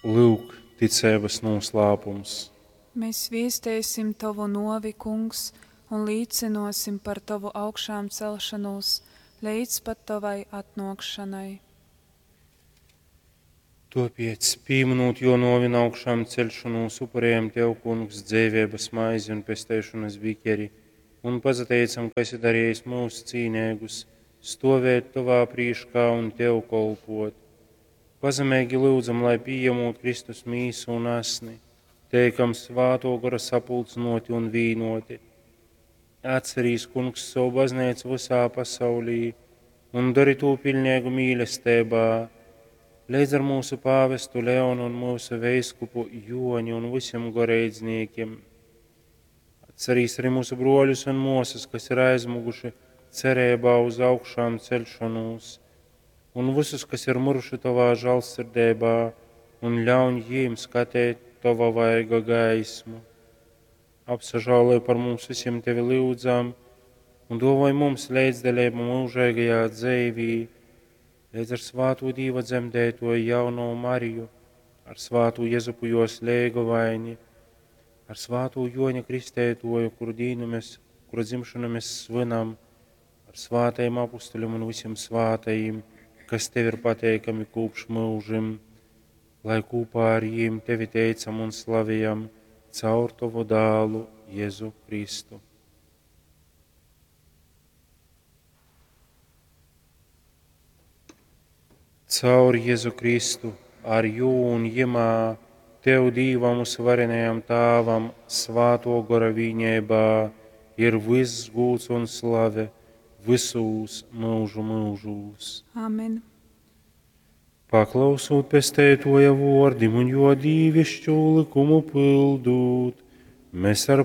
Lyuk, ticeibas nūslāpums. Mēs viesteisim Tovu nuovi, Kungs, un līcynuosim par Tovu augšāmcelšanūs leidz pat Tovai atnuokšanai. Tuopiec, pīminūt juo nuovi un augšāmceļšonūs, upurējam Tev, Kungs, dzeiveibas maizi un pesteišonas bikeri, un pasateicam, ka esi darījis mūs cīneigus, stovēt Tovā prīškā un Tev kolpot. Pazemeigi lyudzam, lai pījemūt Kristus mīsu un asni, teikam svāto gora sapulcynoti un vīnoti. Atcerīs, Kungs, savu baznīcu visā pasaulī un dari tū pilnīgu mīlestībā, leidz ar mūsu pāvestu Leonu un mūsu veiskupu Joni un visiem goreidzniekiem. Atcerīs arī mūsu broļus un mosas, kas ir aizmuguši cerībā uz augšām celšanos, un visus, kas ir miruši tavā žēlsirdībā, un ļauj jiem skatīt tava vaiga gaismu. Apsažāloj par mums visiem tevi lūdzam, un dovoj mums līdzdalību mūžīgajā dzīvī, līdz ar svāto Dīva dzemdētoju jauno Mariju, ar svāto Jezupu jos leigovaini, ar svāto Joņa Kristētoju, kuru dīnu mēs, kura dzimšanu mēs svinam, ar svātajiem apustuļiem un visiem svātajiem, kas tev ir pateikami kopš mūžim, lai kopā ar jiem tevi teicam un slavējam caur tavu dālu Jēzu Kristu. Caur Jēzu Kristu, ar jū un jemā, Tev Dīvam uzvarenajam Tāvam, svāto gora vīņēbā, ir viss gūts un slave visūs mūžu mūžūs. Amen. Paklausūt pestētoja vordim un jo dīvišķo likumu pildūt, mēs ar